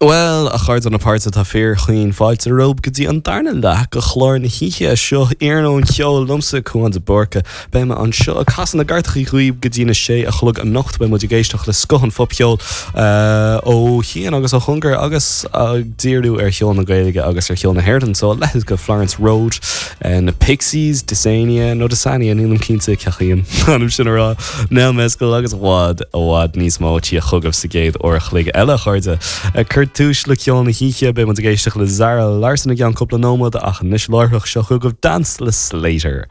Bhuel, a chairde na páirte, tá fíorchaoin fáilte romhaibh go dtí an darna leath de chlár na hoíche seo, Iarnóin Cheoil liomsa, Cúán de Búrca. Beidh mé anseo ag casadh na gcairteachaí dhaoibh go dtí na sé a chlog anocht. Beidh muid ag éisteacht le scoth an phopcheoil ó chian agus ó chóngar agus ag díriú ar cheol na Gaeilge agus ar cheol na hÉireann. So, a leithéid de Florence Road, na Pixies, Dysania nó Dysania, nílim cinnte cén chaoi an ainm sin a rá. Nell Mescal agus i bhfad, i bhfad níos mó ag tíocht chugaibh sa gcéad uair a chloig eile, a chairde. Ag cur túis le ceol na hoíche, beidh muid ag éisteacht le Zara Larsson i gceann cúpla nóiméad, ach anois láithreach, seo chugaibh Dance le Slayyyter.